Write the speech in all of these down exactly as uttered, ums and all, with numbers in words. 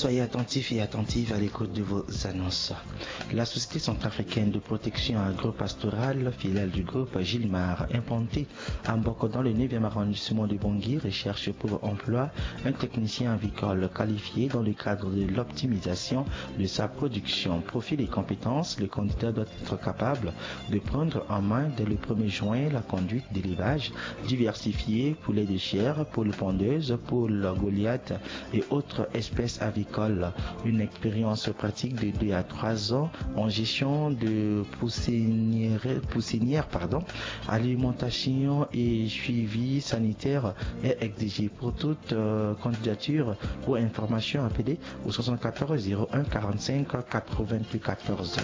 Soyez attentifs et attentives à l'écoute de vos annonces. La Société centrafricaine de protection agro-pastorale, filiale du groupe Gilmar, implantée à Mboko dans le neuvième arrondissement de Bangui, recherche pour emploi un technicien avicole qualifié dans le cadre de l'optimisation de sa production. Profil et compétences, le candidat doit être capable de prendre en main dès le premier juin la conduite d'élevage diversifié, poulet de chair, poule pondeuse, poule Goliath et autres espèces avicoles. Une expérience pratique de deux à trois ans en gestion de poussinière, poussinière, pardon, alimentation et suivi sanitaire est exigé. Pour toute, euh, candidature ou information, appelez au soixante-quatorze zéro un quarante-cinq quatre-vingt-quatorze.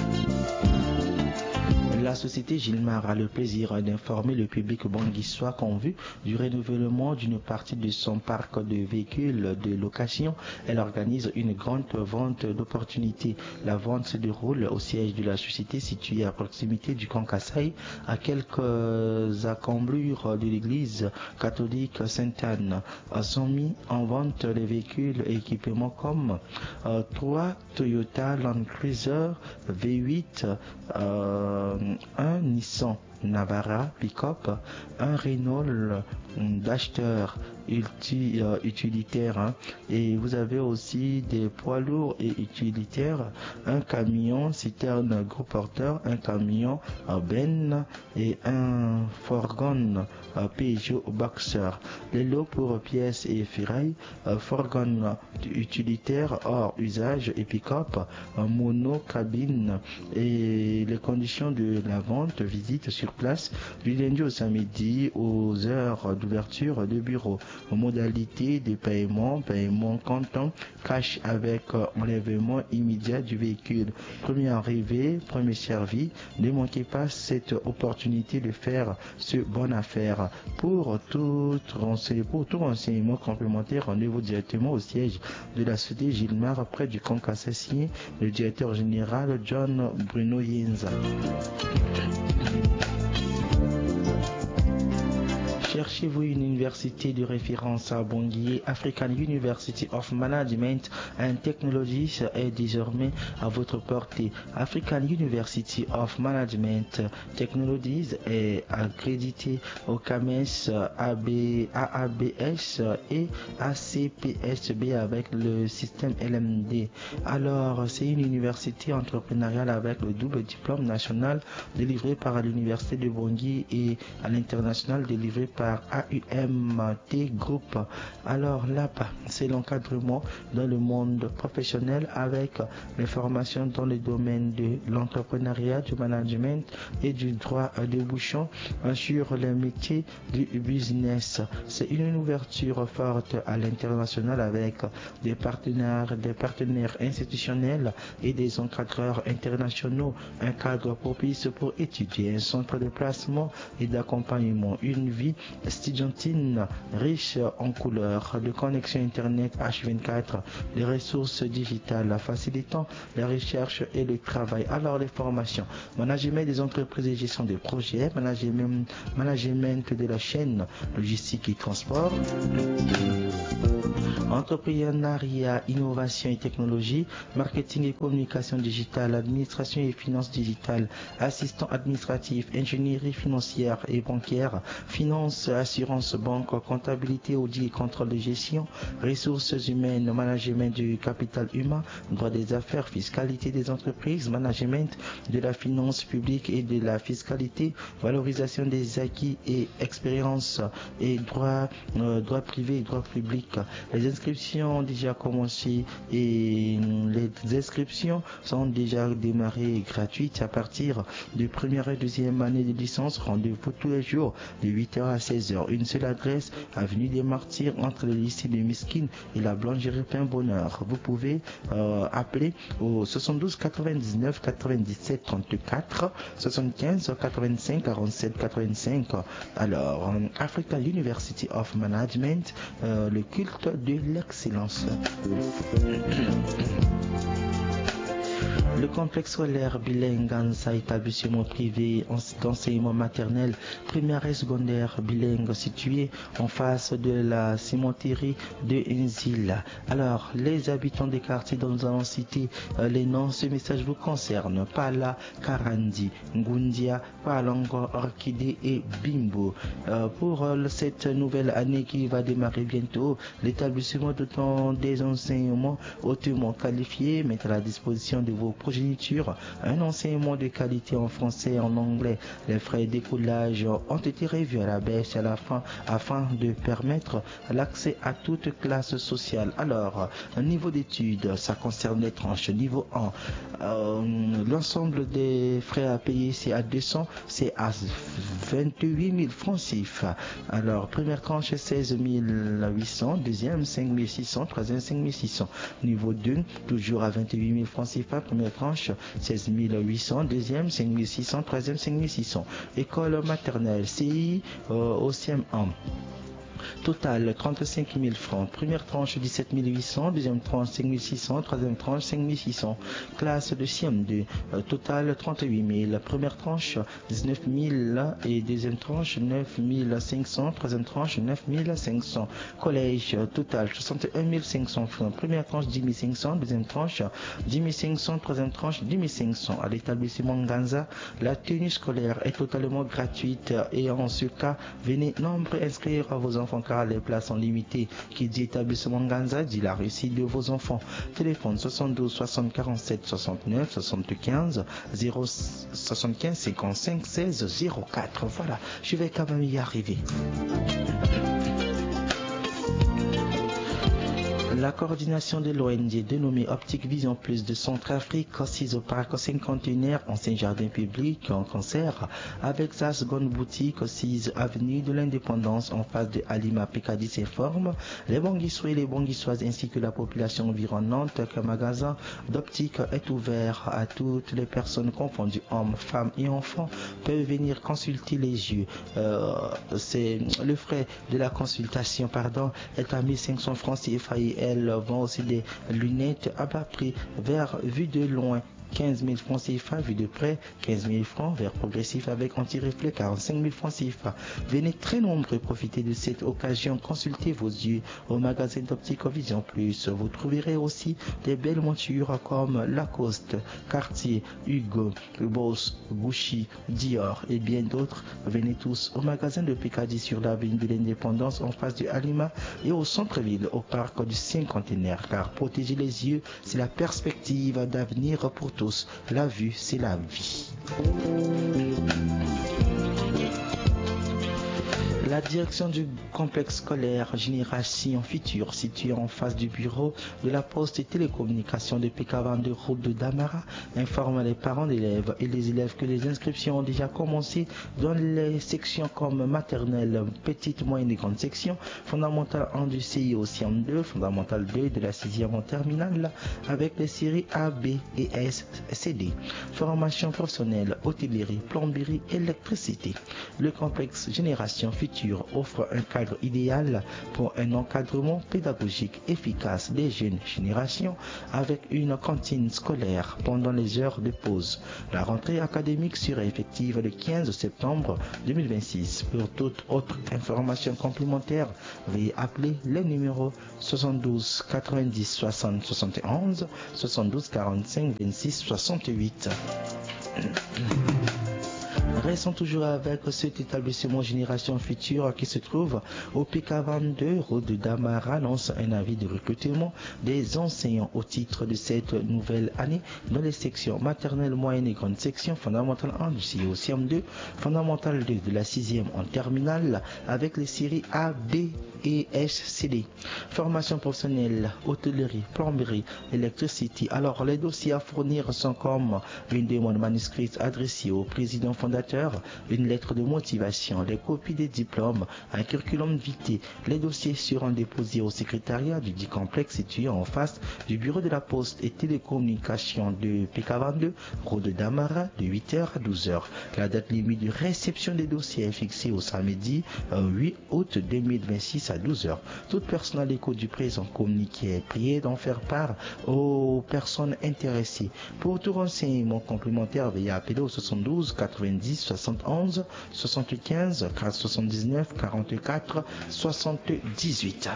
La société Gilmar a le plaisir d'informer le public banguissois qu'en vue du renouvellement d'une partie de son parc de véhicules de location, elle organise une grande vente d'opportunités. La vente se déroule au siège de la société situé à proximité du Camp Kasaï, à quelques accombures de l'église catholique Sainte-Anne. Sont mis en vente les véhicules et équipements comme, euh, trois Toyota Land Cruiser V huit, euh, un Nissan Navara pick-up, un Renault, mm, Duster ulti-, euh, utilitaire, hein. Et vous avez aussi des poids lourds et utilitaires, un camion citerne gros porteur, un camion, euh, benne et un fourgon, euh, Peugeot Boxer. Les lots pour pièces et ferrailles, euh, fourgon utilitaire hors usage et pick-up, euh, monocabine. Et les conditions de la vente, visite sur place du lundi au samedi aux heures d'ouverture de bureau. Modalité de paiement, paiement comptant, cash avec, euh, enlèvement immédiat du véhicule. Premier arrivé, premier servi. Ne manquez pas cette opportunité de faire ce bonne affaire. Pour tout rense-, pour tout renseignement complémentaire, rendez-vous directement au siège de la société Gilmar, près du Camp Kasaï, le directeur général John Bruno Yenza. Cherchez-vous une université de référence à Bangui? African University of Management and Technologies est désormais à votre portée. African University of Management Technologies est accrédité au CAMES, A B, A A B S et A C P S B avec le système L M D. Alors, c'est une université entrepreneuriale avec le double diplôme national délivré par l'Université de Bangui et à l'international délivré par A U M T Group. Alors là-bas, c'est l'encadrement dans le monde professionnel avec les formations dans les domaines de l'entrepreneuriat, du management et du droit, euh, débouchant, euh, sur les métiers du business. C'est une ouverture forte à l'international avec des partenaires, des partenaires institutionnels et des encadreurs internationaux. Un cadre propice pour étudier, un centre de placement et d'accompagnement, une vie estudiantine riche en couleurs, de connexion Internet H vingt-quatre, des ressources digitales facilitant la recherche et le travail. Alors, les formations, management des entreprises et gestion des projets, management, management de la chaîne logistique et transport, entrepreneuriat, innovation et technologie, marketing et communication digitale, administration et finances digitales, assistant administratif, ingénierie financière et bancaire, finance, assurance, banque, comptabilité, audit et contrôle de gestion, ressources humaines, management du capital humain, droit des affaires, fiscalité des entreprises, management de la finance publique et de la fiscalité, valorisation des acquis et expérience et droit, euh, droit privé et droit public. Les inscriptions ont déjà commencé et, euh, les inscriptions sont déjà démarrées gratuites à partir de première et deuxième année de licence. Rendez-vous tous les jours de huit heures à seize heures. Une seule adresse, avenue des Martyrs, entre le lycée de Miskine et la boulangerie Pain Bonheur. Vous pouvez, euh, appeler au soixante-douze quatre-vingt-dix-neuf quatre-vingt-dix-sept trente-quatre, soixante-quinze quatre-vingt-cinq quarante-sept quatre-vingt-cinq. Alors, euh, Africa University of Management, euh, le culte de l'excellence. Le complexe scolaire bilingue Nganza, établissement privé d'enseignement maternel, primaire et secondaire bilingue situé en face de la cimenterie de Nzila. Alors, les habitants des quartiers dont nous allons citer euh, les noms, ce message vous concerne. Pala, Karandi, Ngundia, Palongo, Orchidée et Bimbo. Euh, pour euh, cette nouvelle année qui va démarrer bientôt, l'établissement dotant des enseignements hautement qualifiés met à la disposition de vos progénitures un enseignement de qualité en français et en anglais. Les frais d'écolage ont été revus à la baisse à la fin afin de permettre l'accès à toute classe sociale. Alors, niveau d'études, ça concerne les tranches. Niveau un, euh, l'ensemble des frais à payer, c'est à deux cents, c'est à vingt-huit mille francs CFA. Alors, première tranche, seize mille huit cents, deuxième, cinq mille six cents, troisième, cinq mille six cents. Niveau deux, toujours à vingt-huit mille francs CFA, première tranche, seize mille huit cents, deuxième, cinq mille six cents, troisième, cinq mille six cents. École maternelle, C I euh, au C M un. Total, trente-cinq mille francs. Première tranche, dix-sept mille huit cents. Deuxième tranche, cinq mille six cents. Troisième tranche, cinq mille six cents. Classe de C M deux, euh, total, trente-huit mille. Première tranche, dix-neuf mille. Et deuxième tranche, neuf mille cinq cents. Troisième tranche, neuf mille cinq cents. Collège, euh, total, soixante et un mille cinq cents francs. Première tranche, dix mille cinq cents. Deuxième tranche, dix mille cinq cents. Troisième tranche, dix mille cinq cents. À l'établissement Nganza, la tenue scolaire est totalement gratuite et en ce cas, venez nombreux inscrire vos enfants car les places sont limitées. Qui dit établissement Nganza dit la réussite de vos enfants. Téléphone soixante-douze soixante quarante-sept soixante-neuf soixante-quinze zéro soixante-quinze cinquante-cinq seize zéro quatre. Voilà, je vais quand même y arriver. La coordination de l'O N G dénommée Optique Vision Plus de Centrafrique, assise au parc cinquantenaire, ancien jardin public, en concert avec sa seconde boutique, assise avenue de l'Indépendance, en face de Alima Picardie, s'informe. Les Banguissois et les Banguissoises ainsi que la population environnante, qu'un magasin d'optique est ouvert à toutes les personnes confondues, hommes, femmes et enfants, peuvent venir consulter les yeux. Euh, c'est le frais de la consultation, pardon, est à mille cinq cents francs CFA et elles vendent aussi des lunettes à bas prix vers vue de loin. Quinze mille francs CFA, vue de près, quinze mille francs, verre progressif avec anti-reflet, quarante-cinq mille francs CFA. Venez très nombreux profiter de cette occasion, consultez vos yeux au magasin d'Optique Vision Plus. Vous trouverez aussi des belles montures comme Lacoste, Cartier, Hugo Boss, Gucci, Dior et bien d'autres. Venez tous au magasin de Picardie sur l'avenue de l'Indépendance en face de Alima et au centre-ville au parc du Cinquantenaire, car protéger les yeux, c'est la perspective d'avenir pour tous. La vue, c'est la vie. La direction du complexe scolaire Génération Future, situé en face du bureau de la poste et télécommunication de Pekavan de route de Damara, informe les parents d'élèves et les élèves que les inscriptions ont déjà commencé dans les sections comme maternelle, petite, moyenne et grande section, fondamentale un du C I au C M deux, fondamentale deux de la sixième en terminale, avec les séries A, B et S, C D. Formation professionnelle, hôtellerie, plomberie, électricité. Le complexe Génération Future offre un cadre idéal pour un encadrement pédagogique efficace des jeunes générations avec une cantine scolaire pendant les heures de pause. La rentrée académique sera effective le quinze septembre deux mille vingt-six. Pour toute autre information complémentaire, veuillez appeler les numéros soixante-douze quatre-vingt-dix soixante soixante et onze, soixante-douze quarante-cinq vingt-six soixante-huit. Restons toujours avec cet établissement Génération Future qui se trouve au P K vingt-deux, route de Damara, lance un avis de recrutement des enseignants au titre de cette nouvelle année dans les sections maternelle, moyenne et grande section, fondamentale un du C I au C M deux, fondamentale deux de la sixième en terminale avec les séries A, B et S C D. Formation professionnelle, hôtellerie, plomberie, électricité. Alors, les dossiers à fournir sont comme une demande manuscrite adressée au président fondateur une lettre de motivation, les copies des diplômes, un curriculum vitae. Les dossiers seront déposés au secrétariat du dit complexe situé en face du bureau de la poste et télécommunication de P K vingt-deux, rue de Damara, de huit heures à douze heures. La date limite de réception des dossiers est fixée au samedi, euh, huit août deux mille vingt-six à douze heures. Toute personne à l'écoute du présent communiqué est priée d'en faire part aux personnes intéressées. Pour tout renseignement complémentaire, veuillez appeler au soixante-douze quatre-vingt-dix soixante-onze soixante-quinze, quatre soixante-dix-neuf quarante-quatre soixante-dix-huit.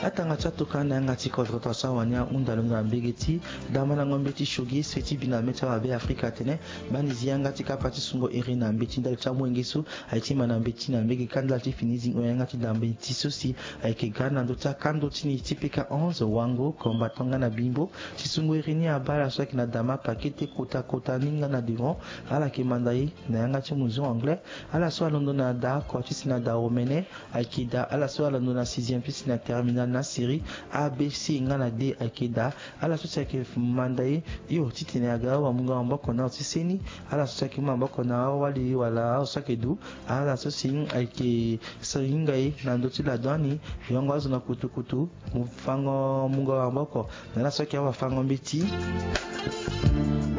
Atanga ti atoka na yanga ti kodro ta so awani ahunda londo na mbege ti damandango mbeti shogi se ti bi na mê ti awabe Afrika atene, bani zi yanga ti kapa ti sungo iri na mbeti ndali ti amolenge so aye ti ma na mbeti na mbege kanda ti fini zingo yanga ti da mbeti so si ayeke ga na ndö ti akando ti ni ti P K onze, Wango, Combattant nga na Bimbo. Ti sungo iri ni abaa ala so ayeke na da mapa kete kota kota ni nga na devant. Ala yeke manda e na yanga ti muzu anglais. Ala so alondo na da oko ti si na da omene ayeke da. Ala so alondo na sixième ti si na terminal na série A B C nga na D ayeke da. Ala so si ayeke manda e, yo, titene aga awamungo maboko na azo ti seni. Ala so si ayeke mu maboko na awali wala azo so ayeke du. Ala so si ayeke so hinga e na ndö ti lado ani, yongo azo na kutukutu, mu fango mungo maboko na ala so ayeke awafango mbeti.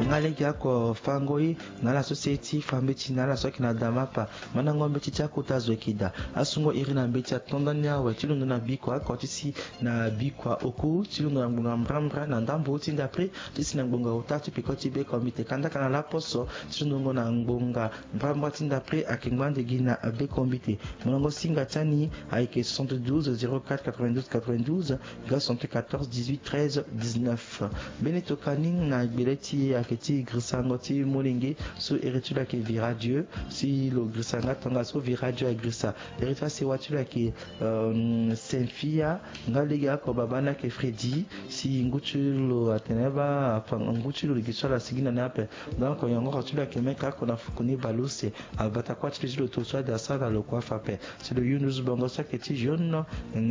Nga lege ako fango e na ala so si aye ti fa mbeti na ala so ayeke na da mapa. Mandango mbeti ti akota zo ayeke daa. Asungo iri na mbeti ato ndani awe ti londo na bikua oko ti si na bikua oku ti londo na ngbonga mbrambra na ndambo ti ndapre ti si na ngbonga ota ti peko ti beko mbi te kandaka na laposo ti londongo na ngbonga mbrambra ti ndapre ayeke ngbande gi na beko mbi te. Molongo singa ti ani ayeke soixante-douze zéro quatre quatre-vingt-douze quatre-vingt-douze, ga soixante-quatorze dix-huit treize dix-neuf. Mbeni tokani na gbele ti e ayeke ti girisango ti molenge so iri ti lo ayeke Vira Dieu. Si lo girisa nga tongaso Vira Dieu agirisa iri ti asewa ti lo ayeke, euh, Senfia. Nga lege oko babâ ni ayeke Freddy. Si ngu ti lo atene bâ afa ngu ti lo lege so ala sigi na ni ape. Donc yongoro ti lo ayeke mê ka oko na fuku ni bale use. Abata kuâ ti lo ti lo to so ade asara lo kue afa ape. Si lo yundu zo bongo so ayeke ti jaune,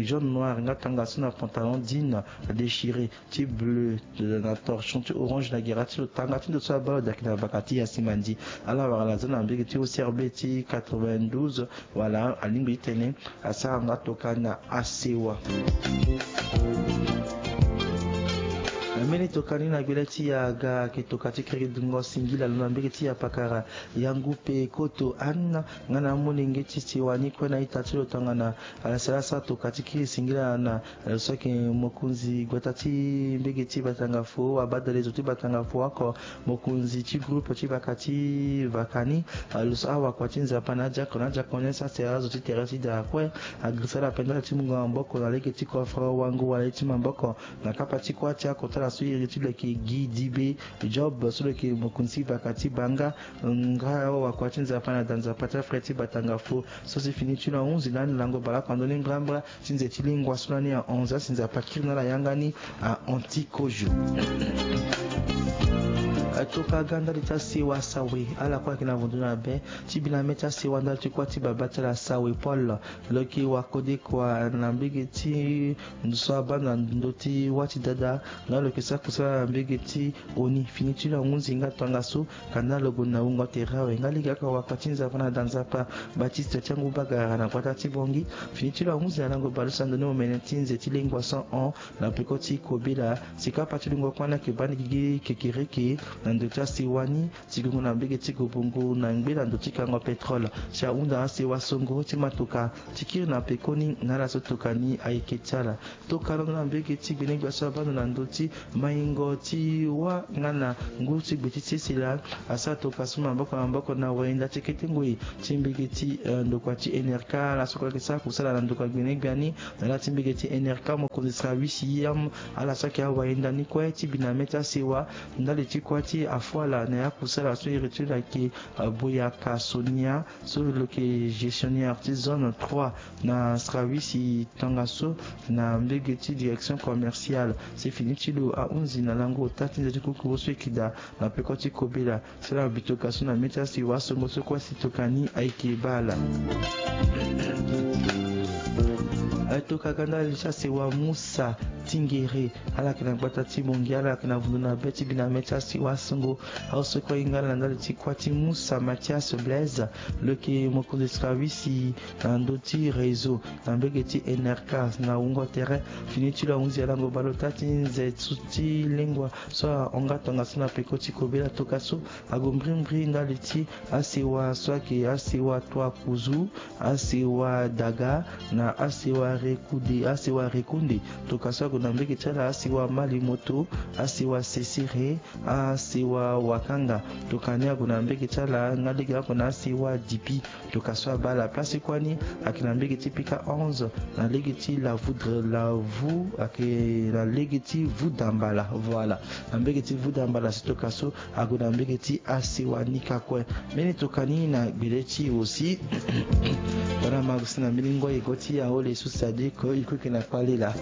jaune noir nga tongaso na pantalon jean déchiré ti bleu na torchon ti orange na gera ti lo. Tanga ti ndo so abaa lo daa ayeke na baka ti Yasimandi. Ala wara lazo na mbege ti O C R B ti quatre-vingt-douze. Wala alingbi ti tene asara nga toka na asewa. Mbeni tokani na gbele ti e aga ayeke toka ti kirikiri dungo singila lo na mbege ti e apakara. Yangu pe koto Anne nga na amolenge ti sewa ni kue na ita ti lo tongana ala sara asara toka ti kiri singila na lo so ayeke mokonzi gbata ti mbege ti Batangafo, abadale zo ti Batangafo oko, mokonzi ti groupe ti baka ti vaka ni. Lo so awakua ti Nzapa na adiako na adiako ni asara azo ti tere ti daa kue. Agirisa ala pendala ti mungo maboko na lege ti coffre wango wala ye ti maboko na kapa ti kuâ ti akota ala so iri ti lo ayeke Guy Dibe Job so lo yeke mokonzi ti vaka ti Banga. Nga awakua ti Nzapa na da Nzapa ti afrère ti Batangafo so si fini ti lo ahunzi lani lango bale oko na ndö ni mbrambra ti nze ti lingua so lani ahon za si Nzapa akiri na ala yanga ni ahon ti kozo. Atoka ga ndali ti asewa Sawe, ala kue ayeke na vondo na be ti bi na mê ti asewa ndali ti kuâ ti babâ ti ala Sawe Paul. Lo yeke wakodekua na mbege ti ndo so abaa na ndö ti wâ ti dada. Nga lo yeke sara kusala na mbege ti oni. Fini ti lo ahunzi nga tongaso kanda lo gue na wungo tere awe. Nga lege oko awakua ti Nzapa na da Nzapa Baptiste ti Angu Bagara na gbata ti Bongi. Fini ti lo ahunzi na lango bale so na ndö ni omene ti nze ti lengua so ahon na peko ti kobela. Si kapa ti lungo kue ni ayeke baa ni gigi kekereke na ndo ti asewa ni. Ti gongo na mbege ti gobongo na ngbe na ndo ti kango pétrole. Si ahunda asewa songo ti matoka ti kiri na pekoni na ala so tokani ayeke ti ala. Tokana na mbege ti gbenegbia so abaa ndo na ndo ti maingo ti wâ nga na ngu ti gbe ti sesela. Asara toka so maboko na maboko na wayenda ti kete ngoi ti mbege ti, eh, ndokua ti N R K. Ala so kue ayeke sara kusala na ndokua gbenegbia ni na ala ti mbege ti N R K, mokonzi Srawisi Yam. Ala so ayeke awayenda ni kue ti bi na mê ti asewa ndali ti kuâ ti afuala na ya kusala so iri ti lo ayeke, eh, Boyaka Sonia so lo yeke gestionnaire ti zone trois na Srawisi tongaso na mbege ti direction commerciale. Si fini ti lo ahunzi na lango ota ti nze ti kukuru so eke daa na peko ti kobela. Sara bitoka so na mê ti asewa songo so kue si tokani ayeke baa ala. Atoka ga ndali ti asewa Musa Tingere, ala yeke na gbata ti Bongi, ala yeke na vundu na be ti biname ti asiwa asungo. Aosoko ahinga ala na ndali ti kuâ ti Musa Mathias Blaise, lo yeke mokonzi srawisi na ndö ti réseau na mbege ti N R K na wungo tere. Fini ti lo ahunzi alango baleota ti nze ti lengua so ahonga tongaso na peko ti kobela toka so ague mbrimbri ndali ti asiwa so ayeke asiwa Tuakuzu, asiwa Daga na asiwa Rekunde, asiwa Rekunde. Toka so ague na mbege ti ala asiwa Malimoto, asiwa Sesere, asiwa Wakanga. Toka ni ague na mbege ti ala nga lege oko na asiwa Dipi. Toka so abaa la place ti kuâ ni ayeke na mbege ti pika onze, na lege ti la voudre la vou ayeke na lege ti Vudambala. Voilà, na mbege ti Vudambala si toka so ague na mbege ti asiwa ni ka kue. Mbeni toka ni na gbele ti e aussi. Wala ma gue si na mbeni ngoi e go ti ahole so c'est-à-dire que e kue yeke na kpale laa.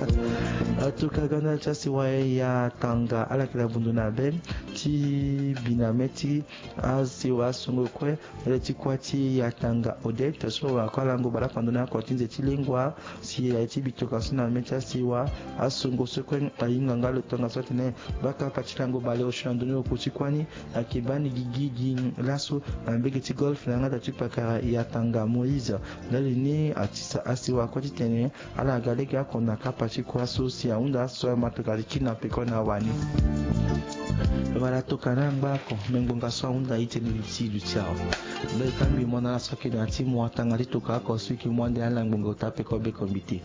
Atoka ga ndali ti asiwa Yatanga, ala yeke na vundu na be ti biname ti asiwa asungo kue. Ndali ti kuâ ti Yatanga Odette so ako alango baleoko na ndö ni oko ti nze ti lengua. Si aye ti bi toka so na mê ti asiwa asungo so kue ahinga nga lo tongaso atene baka pati lango baleosio na ndö ni oko ti kuâ ni. Ayeke baa ni gigi gi laso na mbege ti golfe na yanga da ti kpakara Yatanga Moïse. Ndali ni atisa asiwa kue titene ala ga lege oko na kapa ti kuâ so si ahunda so ama toka ti kiri na peko na wani. Wala toka na angba oko me ngbonga so ahunda e tene luti luti awe. Mbeni kangbi mo na ala so ayeke na ya ti mo atanga ti toka oko so e yeke mu ande ala ngbonga ota peko be kombite.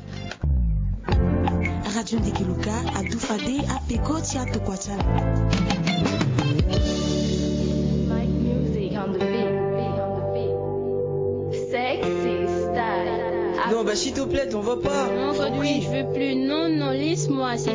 Radio Ndeke Luka adu fade apeko ti atokua ti ala. Mike Music on the beat. Sexy style. Non, bah, s'il te plaît, t'en vas pas. Non, Godwin, je veux plus. Non, non, laisse-moi. C'est